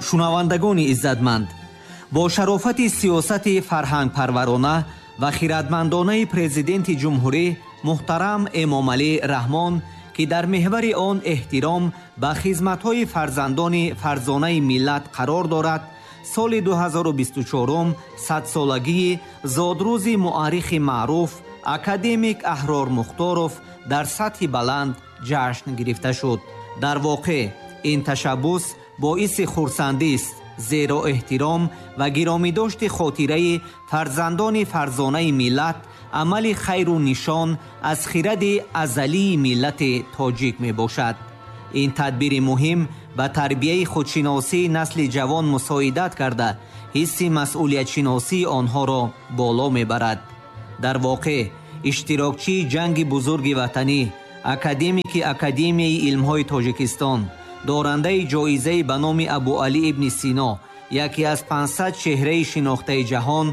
Шунавандагони иззатманд, бо шарофати сиёсати фарҳангпарварона ва хирадмандонаи Президенти Ҷумҳурӣ муҳтарам Эмомалӣ Раҳмон, ки дар меҳвари он эҳтиром ба хизматҳои фарзандони фарзонаи миллат қарор дорад, соли 2024 садсолагии зодрӯзи муаррихи маъруф академик Аҳрор Мухторов дар сатҳи баланд ҷашн гирифта шуд. Дар воқеъ ин ташаббус боиси хурсандист, зеро эҳтиром ва гиромидошти хотираи фарзандони фарзонаи миллат амали хайру нишон аз хиради азалии миллати тоҷик мебошад. Ин тадбири муҳим ба тарбияи худшиносии насли ҷавон мусоидат карда, ҳисси масъулиятшиносии онҳоро боло мебарад. Дар воқеъ иштирокчии ҷанги бузурги ватанӣ, академики Академияи илмҳои Тоҷикистон, дорандаи ҷоизаи ба номи Абуалӣ ибни Сино, яке аз 500 чеҳраи шинохтаи ҷаҳон,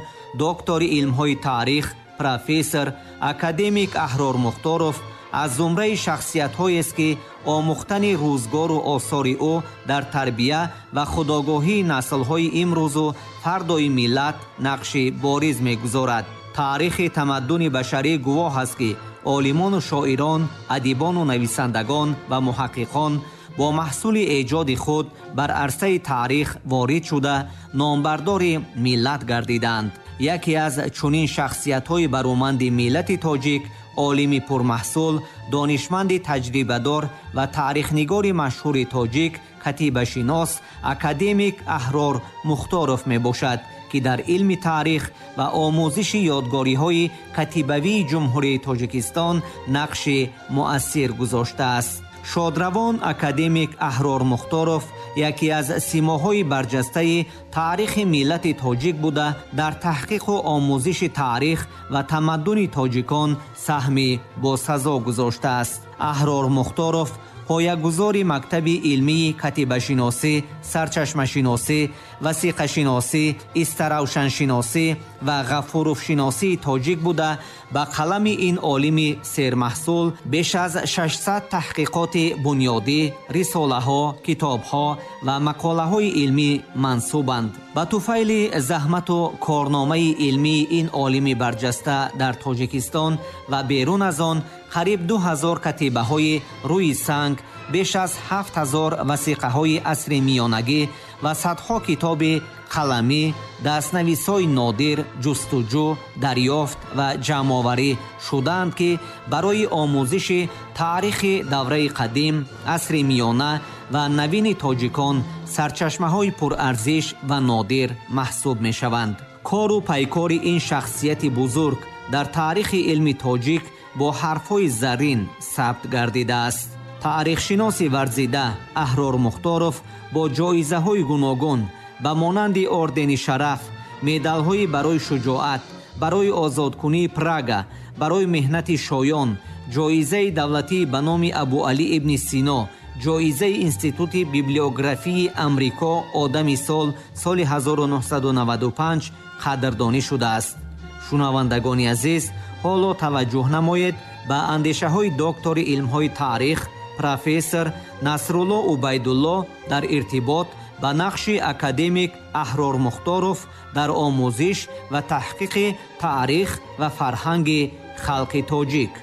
доктори илмҳои таърих, профессор, академик Аҳрор Мухторов аз зумраи шахсиятҳоест, ки омӯхтани рӯзгору осори ӯ дар тарбия ва худогоҳии наслҳои имрӯзу фардои миллат нақши бориз мегузорад. Таърихи тамаддуни башарӣ гувоҳ аст, ки олимону шоирон, адибону нависандагон ва муҳаққиқон бо маҳсули эҷоди худ бар арсаи таърих ворид шуда, номбардори миллат гардиданд. Яке аз чунин шахсиятҳои бароманди миллати тоҷик, олими пурмаҳсул, донишманди таҷрибадор ва таърихнигори машҳури тоҷик, катибашинос, академик Аҳрор Мухторов мебошад, ки дар илми таърих ва омӯзиши ёдгориҳои катибавии Ҷумҳурии Тоҷикистон нақши муассир гузоштааст. Шодравон академик Аҳрор Мухторов яке аз симоҳои барҷастаи таърихи миллати тоҷик буда, дар таҳқиқу омӯзиши таърих ва тамаддуни тоҷикон саҳми босазо гузоштааст. Аҳрор Мухторов поягузори мактаби илмии катибашиносӣ, сарчашмашиносӣ, васиқашиносӣ, истаравшаншиносӣ ва ғафуровшиносии тоҷик буда, ба қалами ин олими сермаҳсул беш аз 600 таҳқиқоти бунёдӣ, рисолаҳо, китобҳо ва мақолаҳои илмӣ мансубанд. Ба туфайли заҳмату корномаи илмии ин олими барҷаста дар Тоҷикистон ва берун аз он қариб 2000 катибаҳои рӯи санг, беш аз 7000 васиқаҳои асри миёнагӣ ва садҳо китоби қаламӣ, дастнависҳои нодир ҷустуҷӯ, дарёфт ва ҷамъоварӣ шудаанд, ки барои омӯзиши таърихи давраи қадим, асри миёна ва навини тоҷикон сарчашмаҳои пурарзиш ва нодир маҳсуб мешаванд. Кору пайкори ин шахсияти бузург дар таърихи илми тоҷик бо ҳарфҳои заррин сабт гардидааст. Таърихшиноси варзида Аҳрор Мухторов бо ҷоизаҳои гуногун ба монанди ордени шараф, медалҳои барои шуҷоат, барои озодкунии Прага, барои меҳнати шоён, ҷоизаи давлатӣ ба номи Абуалӣ ибни Сино, ҷоизаи Институти библиографии Амрико одами сол соли 1995 қадрдонӣ шудааст. Шунавандагони азиз, ҳоло таваҷҷӯҳ намоед ба андешаҳои доктори илмҳои таърих, профессор Насрулло Убайдулло дар иртибот ба нақши академик Аҳрор Мухторов дар омӯзиш ва таҳқиқи таърих ва фарҳанги халқи тоҷик.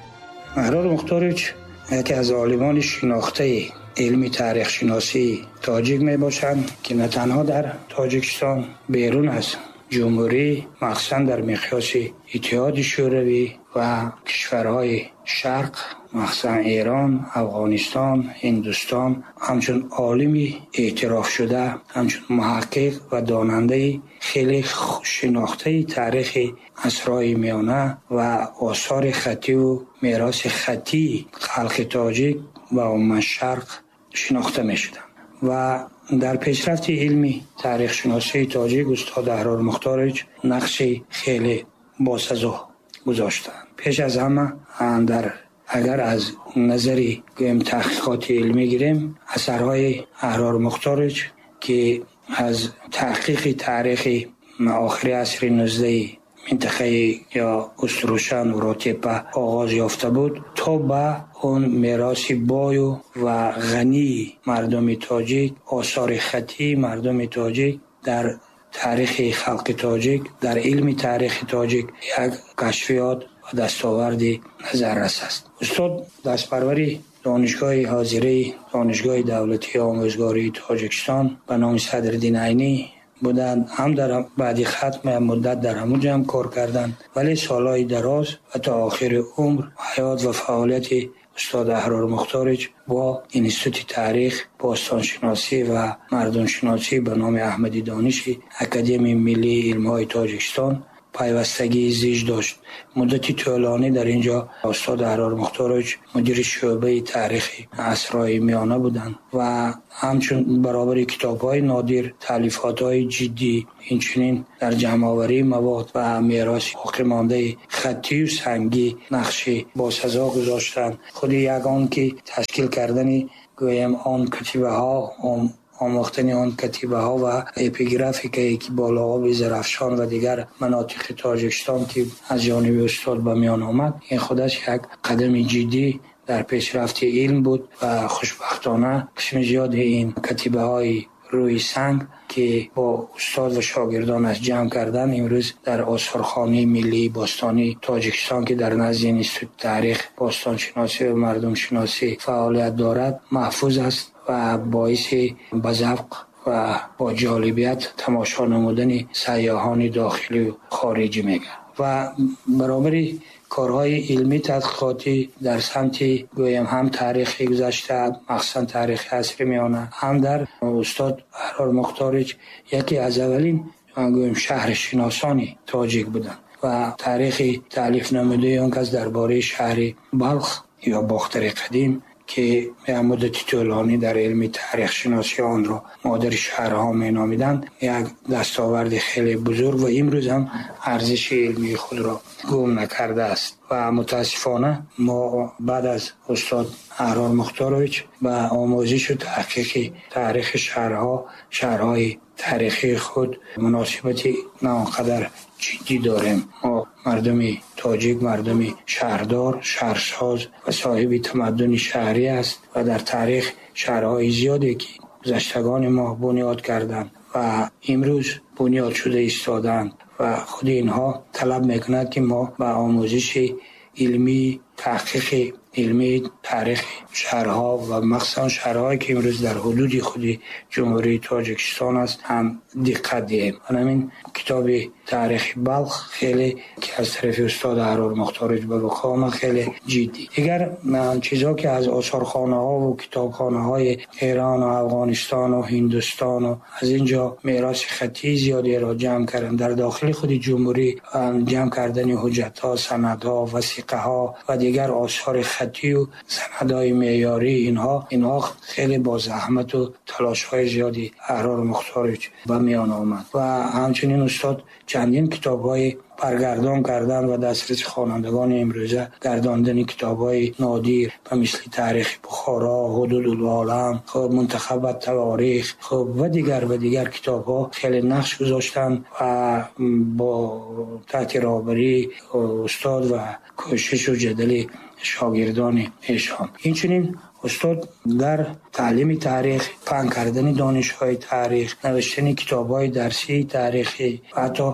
Аҳрор Мухторович яке аз олимони шинохтаи илми таърихшиносии тоҷик мебошанд, ки на танҳо дар Тоҷикистон, берун аз ҷумҳурӣ, махсусан дар миқёси Иттиҳоди Шӯравӣ ва кишварҳои Шарқ, махсусан Эрон, Афғонистон, Ҳиндустон, ҳамчун олими эътирофшуда, ҳамчун муҳаққиқ ва донандаи хеле шинохтаи таърихи асрҳои миёна ва осори хаттиву мероси хаттии халқи тоҷик ва умуман Шарқ шинохта мешуданд ва дар пешрафти илми таърихшиносии тоҷик устод Аҳрор Мухторович нақши хеле босазо гузоштанд. Пеш аз ҳама дар агар аз назари гӯем таҳқиқоти илмӣ гирем, асарҳои Аҳрор Мухторович, ки аз таҳқиқи таърихи охири асри 19 минтақаи ё Уструшан ва Ротепа оғоз ёфта буд, то ба он мероси бою ва ғании мардуми тоҷик, осори хаттии мардуми тоҷик дар таърихи халқи тоҷик, дар илми таърихи тоҷик як кашфиёт ва дастоварди назаррас аст. Устод дастпарвари донишгоҳи ҳозираи Донишгоҳи давлатии омӯзгории Тоҷикистон ба номи Садриддин Айнӣ буданд. Ҳам дар баъди хатм як муддат дар ҳамун ҷо ҳам кор карданд, вале солҳои дароз ва то охири умр ҳаёт ва фаъолияти устод Аҳрор Мухторович бо Институти таърих, бостоншиносӣ ва мардумшиносӣ ба номи Аҳмади Дониши Академияи миллии илмҳои Тоҷикистон пайвастагии зич дошт. Муддати тӯлонӣ дар ин ҷо устод Аҳрор Мухторович мудири шӯъбаи таърихи асрҳои миёна буданд ва ҳамчун баробари китобҳои нодир, таълифотҳои ҷиддӣ, инчунин дар ҷамъоварии мавод ва мероси боқимондаи хаттию сангӣ нақши босазо гузоштанд. Худи ягон ки ташкил кардани гӯем он катибаҳо, омӯхтани он катибаҳо ва эпиграфикае ки болооби Зарафшон ва дигар манотиқи Тоҷикистон ки аз ҷониби устод ба миён омад, ин худаш як қадами ҷиддӣ дар пешрафти илм буд ва хушбахтона қисми зиёди ин катибаҳои рӯи санг ки бо устод ва шогирдонаш ҷамъ карданд, имрӯз дар осорхонаи миллии бостонии Тоҷикистон ки дар назди Институти таърих, бостоншиносӣ ва мардумшиносӣ фаъолият дорад, маҳфуз аст ва боиси ба завқ ва бо ҷолибият тамошо намудани сайёҳони дохилию хориҷӣ мегардад. Ва баробари корҳои илмӣ тадқиқотӣ дар самти гӯем ҳам таърихи гузашта, махсусан таърихи асри миёна, ҳам дар устод Аҳрор Мухторович яке аз аввалин гӯем шаҳршиносони тоҷик буданд ва таърихи таълиф намудаи он кас дар бораи шаҳри Балх ё Бохтари қадим ки як муддати тӯлонӣ дар илми таърихшиносӣ онро модари шаҳрҳо меномиданд, як дастоварди хеле бузург ва имрӯз ҳам арзиши илмии худро гум накардааст. Ва мутаассифона мо баъд аз устод Аҳрор Мухторович ба омӯзишу таҳқиқи таърихи шаҳрҳо, шаҳрҳои таърихии худ муносибати на он қадар ҷиддӣ дорем. Мо мардуми тоҷик, мардуми шаҳрдор, шаҳрсоз ва соҳиби тамаддуни шаҳрӣ аст ва дар таърих шаҳрҳои зиёде ки гузаштагони мо бунёд карданд ва имрӯз бунёд шуда истодаанд ва худи инҳо талаб мекунад ки мо ба омӯзиши илмӣ, таҳқиқи илмии таърихи шаҳрҳо ва махсусан шаҳрҳое ки имрӯз дар ҳудуди худи Ҷумҳурии Тоҷикистон аст ҳам диққат диҳем. Ҳамин китоби таърихи Балх хеле ки аз тарафи устод Аҳрор Мухторович ба вуқӯъ омад хеле ҷиддӣ. Дигар чизҳо ки аз осорхонаҳо ва китобхонаҳои Эрон ва Афғонистон ва Ҳиндустон ва аз ин ҷо мероси хаттии зиёдеро ҷамъ карданд, дар дохили худи ҷумҳурӣ ҷамъ кардани ҳуҷҷатҳо, санадҳо, васиқаҳо ва дигар осори хаттию санадҳои меъёрӣ, инҳо хеле бо заҳмату талошҳои зиёди Аҳрор Мухторович ба миён омад. Ва ҳамчунин устод чандин китобҳои баргардон кардан ва дастраси хонандагони имрӯза гардондани китобҳои нодир ба мисли таърихи Бухоро, Ҳудудул олам, хуб Мунтахаб таворих, хуб ва дигар китобҳо хеле нақш гузоштанд ва бо таҳти роҳбарии устод ва кӯшишу ҷадали шогирдони эшон. Инчунин устод дар таълими таърих, паҳн кардани донишҳои таърих, навиштани китобҳои дарсии таърихӣ ва ҳатто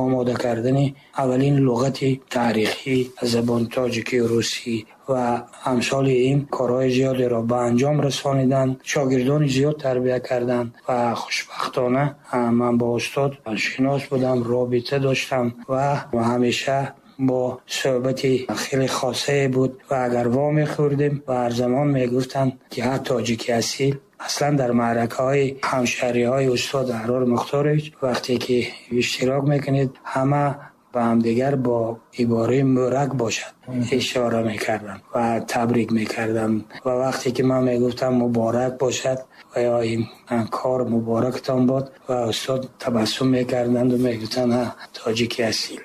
омода кардани аввалин луғати таърихӣ аз забони тоҷикию русӣ ва амсоли ин корҳои зиёдеро ба анҷом расониданд, шогирдони зиёд тарбия карданд ва хушбахтона ман бо устод шинос будам, робита доштам ва ҳамеша бо суҳбати хеле хосае буд ва агар во мехӯрдем ва ҳар замон мегуфтанд ки ҳар тоҷики асил. Аслан дар маъракаҳои ҳамшаҳриҳои устод Аҳрор Мухторович вақте ки иштирок мекунед, ҳама ба ҳамдигар бо ибораи мӯрак бошад ишора мекарданд ва табрик мекарданд. Ва вақте ки ман мегуфтам муборак бошад ва ё ин кор муборактон бод, ва устод табассум мекарданд ва мегуфтанд ҳа, тоҷики асил.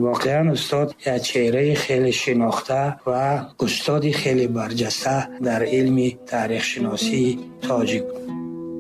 Воқеан устод як чеҳраи хеле шинохта ва устоди хеле барҷаста дар илми таърихшиносии тоҷик.